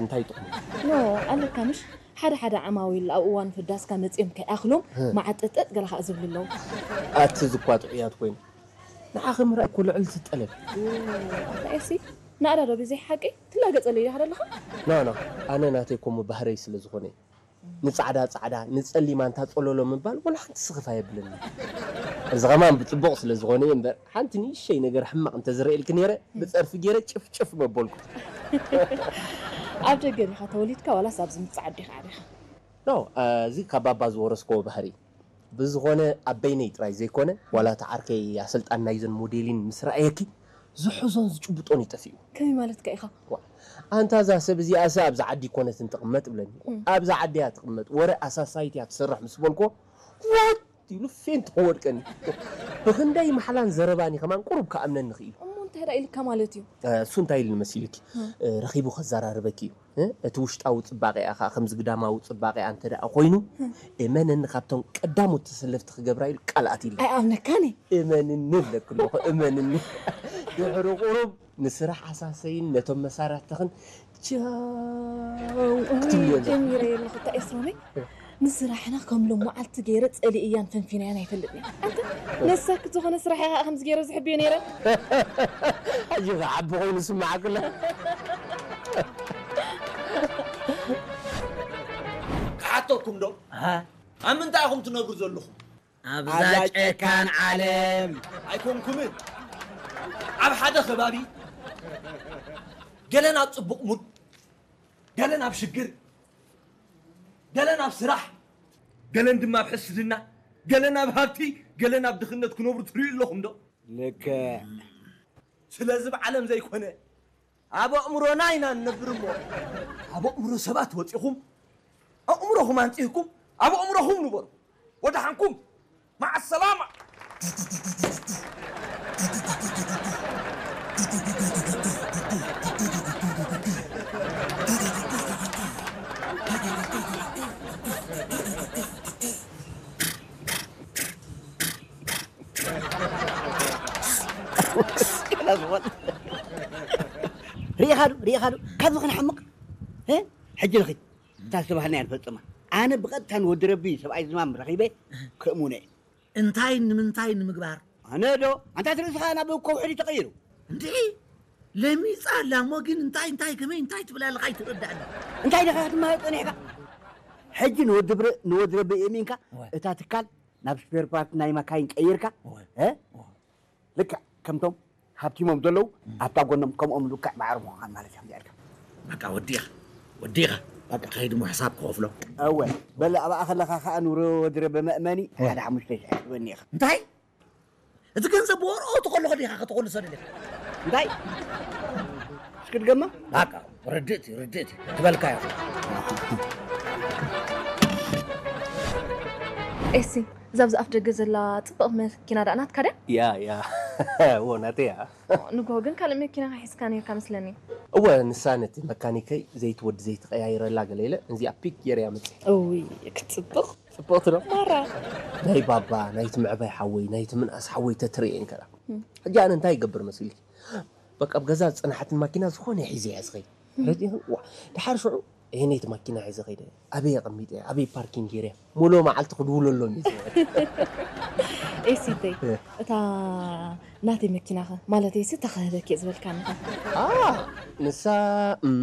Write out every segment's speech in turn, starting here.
እንታይ ጥቕሙ? ኖ ኣለካ ምሽ ሓደ ሓደ ዓማዊል ኣብ እዋን ፍዳስካ መፂኦም ከይኣኽሎም መዓጠጠጥ ገለ ከዓ ዝብሉ ኣለዉ። ኣቲ ዝኳ ጥዑያት ኮይኑ ንዓኸ ምርኣይ እኮ ልዕልቲ ጠለብ። ኣታ ኤሲ ናእዳ ዶ ብዘይ ሓቂ ትላገፀለይ ዲኻ ዘለኻ? ኖ ኖ ኣነ ናተይ ኮሙ ባህረይ ስለ ዝኾነ እዩ። ንጻዕዳ ጻዕዳ ንጸሊም ኣንታ ጸሎሎ ምባል ወላ ሓንቲ ስኽፍ ኣየብለኒ። እዚ ኸማን ብጽቡቕ ስለ ዝኾነ እየ እምበር ሓንቲ ንእሸይ ነገር ሕማቕ እንተዝርእየልኪ ነይረ ብጸርፊ ገይረ ጭፍጭፍ መበልኩ። ኣብ ደገ ዲኻ ተወሊድካ ዋላስ ኣብዚ ምብጻዕ ዓዲ ኢኻ ዓቢኻ? ኖ እዚ ካብ ባባ ዝወረስክዎ ባህሪ ብዝኾነ ኣብ በይነይ ጥራይ ዘይኮነ ዋላ እቲ ዓርከይ ኣሰልጣን ናይዘን ሞዴሊን ምስ ረኣየኪ ዝሕዞን ዝጭብጦን እዩ ጠፊኡ። ከመይ ማለትካ ኢኻ? ኣንታ እዛ ሰብ እዚኣሰ ኣብዛ ዓዲ ኣይኮነትን ትቕመጥ እብለኒ። ኣብዛ ዓዲ እያ ትቕመጥ፣ ወረ ኣሳሳይት እያ ትሰርሕ ምስ በልክዎ ዋት ኢሉ ፌንት ክወድቀኒ። ብኽንደይ ማሕላን ዘረባን እዩ ከማን ቁሩብ ክኣምነኒ ክኢሉ። እሞ እንታይ ደኣ ኢልካ ማለት እዩ? እሱ እንታይ ኢሉኒ መሲልኪ? ረኺቡ ከዘራርበኪ እዩ። እቲ ውሽጣዊ ፅባቐኣ ከዓ ከምዚ ግዳማዊ ፅባቐኣ እንተ ደኣ ኮይኑ እመነኒ ካብቶም ቀዳሞት ተሰለፍቲ ክገብራ ኢሉ ቃል ኣትዩለይ። ኣይኣምነካን እየ። እመንኒ እብለኪ ኣለኹ እመንኒ። ድሕሪ ቁሩብ ንስራሕ ኣሳሰይን ነቶም መሳርሕትኽን ቻው ክትብልዮ ኣለኪ። ጀሚረዮ ኣለኹ እታ ኤስሮመይ ንስራሕና ከም ሎመዓልቲ ገይረ ጸሊእያን ፈንፊነያን ኣይፈልጥን እየ። ኣንተ ነሳክት ዝኾነ ስራሕ እየ ከዓ ከምዚ ገይረ ዝሕብዮ ነይረ። ሕጂ ከዓ ዓቢ ኮይኑ ዝስምዓኪ ኣሎ። ክሓተኩም ዶ ኣብ ምንታይ ኢኹም ትነብሩ ዘለኹም? ኣብዛ ጨካን ዓለም ኣይኮንኩምን። ኣብ ሓደ ከባቢ ገለን ኣብ ጽቡቕ ሙድ፣ ገለን ኣብ ሽግር፣ ገለን ኣብ ስራሕ፣ ገለን ድማ ኣብ ሕስድና፣ ገለን ኣብ ሃብቲ፣ ገለን ኣብ ድኽነት ክነብሩ ትርእዩ ኣለኹም ዶ? ልክዕ። ስለዚ ብዓለም ዘይኮነ ኣብ ኣእምሮና ኢና ንነብር እሞ ኣብ ኣእምሮ ሰባት ወፂኹም ኣእምሮኹም ኣንፂህኩም ኣብ ኣእምሮኹም ንበሩ። ወደሓንኩም መዓ ሰላማ። ርኢኻ ዶ ርኢኻ ዶ ካብዚ ክንሓምቕ ሕጂ ንኺድ እታ ዝተባህልናያ ንፈፅማ። ኣነ ብቐጥታ ንወዲ ረቢ ሰብኣይ ዝማም ረኺበ ከእሙነ እየ። እንታይ ንምንታይ ንምግባር? ኣነ ዶ ኣንታ ትርእስኻ ናብ ከውሒ ድዩ ተቐይሩ? እንድዒ ለሚፃ ኣላ እሞ ግን እንታይ እንታይ ከመይ እንታይ ትብል ኣለኻ ኣይትረዳእኒ። እንታይ ዲኻ ክትመሃር ፀኒሕካ? ሕጂ ንወዲ ብረ- ንወዲ ረቢ የእሚንካ እዋ። እታ ትካል ናብ ስፔር ፓርት ናይ መካይን ቀይርካ እዋ። እ? እዋ። ልክዕ ከምቶም ሃብቲሞም ዘለዉ ኣብታ ጎኖም ከምኦም ልክዕ ማዕረ ምዃን ማለት እያ እዚኣ ኢልካ በቃ ወዲኻ ወዲኻ በቃ ከይድ ሞ ሕሳብ ክኸፍሎ እወ በለ ኣብኣ ከለኻ ከዓ ንሮ ወድረ በመእመኒ ሓደ ሓሙሽተ ሽሕ ትበኒ ኢኻ እንታይ እቲ ገንዘብ ብወርኦ ትኸልኾ ዲኻ ከተኾልሶ ደሊኻ እንታይ እስኪ ድገማ በቃ ርድእቲ ርድእቲ ትበልካ ኢኹ ኤሲ እዛ ኣብዚ ኣፍ ደገ ዘላ ፅብቕ መኪና ደኣ ናትካ ድያ? ያ ያ እዎ ናተይ እያ። ንግሆ ግን ካልእ መኪና ሒዝካ ነይርካ መስለኒ። እወ ንሳ ነቲ መካኒከይ ዘይቲ ወዲ ዘይቲ ቀያይረላ ገለ ኢለ ነዚኣ ፒክ ገይረያ መፅየ። እውይ ክትፅብቕ። ፅብቕቲ ዶ? ማራ። ናይ ባባ ናይቲ ምዕባይ ሓወይ ናይቲ ምንኣስ ሓወይ ተትርእየን ከላ ሕጂ ኣነ እንታይ ይገብር መሲልኪ? በቃ ኣብ ገዛ ዝፀንሓትን ማኪና ዝኾነ ሒዘ እያ ዝኸይድ። ረዲእኽን? ዋ፣ ደሓር ሽዑ እሄነይቲ ማኪና ሒዘ ከይደ። ኣበይ ኣቐሚጠ? ኣበይ ፓርኪንግ ገይረ? ሙሉእ መዓልቲ ክድውለሎም እየ ዝውዕል። ኤሲተይ፣ እታ ናተይ መኪናኸ? ማለተይሲ እታ ክህበኪ እየ ዝበልካኒ ኸ? ኣ፣ ንሳ እም፣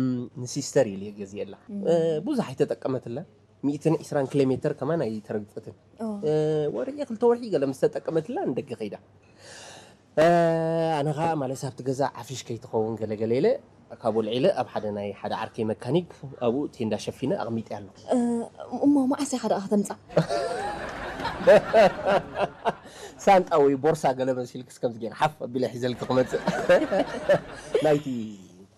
ንሲስተር ኢለ እየ ገዚኤላ። እ፣ ብዙሕ ኣይተጠቀመትላን። ሚእትን ዕስራን ኪሎ ሜተር ከማን ኣይተረግጸትን። ኦ። እ፣ ወርሒ ክልተ ወርሒ ገለ ምስ ተጠቀመትላ ንደገ ከይዳ። ኣነ ኸዓ ማለት ኣብቲ ገዛ ዓፍሽ ከይትኸውን ገለገለ ኢለ ካብ ወልዒለ ኣብ ሓደ ናይ ሓደ ዓርከይ መካኒክ ኣብኡ ቴንዳ ሸፊነ ኣቕሚጠያ ኣለኹ። እሞ መዓስ ኢኻ ደኣ ከተምጻ? ሳንጣ ወይ ቦርሳ ገለ መሲልክስ ከምዚ ገይረ ሓፍ ኣቢለ ሒዘልኪ ክመጽእ ናይቲ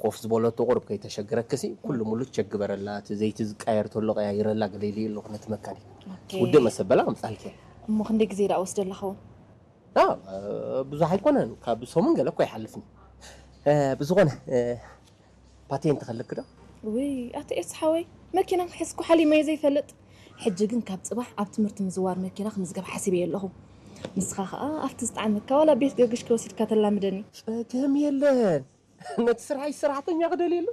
ኮፍ ዝበለቶ ቁሩብ ከይተሸግረክሲ ኩሉ ሙሉ ቸክ ግበረላ እቲ ዘይቲ ዝቃየር ተሎ ቀያይረላ ገለ ኢለዮ ኣለኹ ነቲ መካኒክ። ውድእ መሰበላ ከምጻልኪ። እሞ ክንደይ ግዜ ደኣ ወስደላ ኸውን? ብዙሕ ኣይኮነን ካብ ሰሙን ገለ እኮ ይሓልፍኒ ብዝኾነ ፓቴንት ከልክ ዶ ውይ ኣቲ ኤስ ሓወይ መኪና ክሕዝኩ ሓሊመዮ ዘይፈልጥ ሕጂ ግን ካብ ፅባሕ ኣብ ትምህርቲ ምዝዋር መኪና ክምዝገብ ሓሲበዮ ኣለኹ ንስኻ ከዓ ኣብቲ ዝጠዓመካ ዋላ ቤት ገርግሽ ከወሲድካ ተላምደኒ ፀገም የለን ነቲ ስርሓይ ሰራሕተኛ ክደልየሉ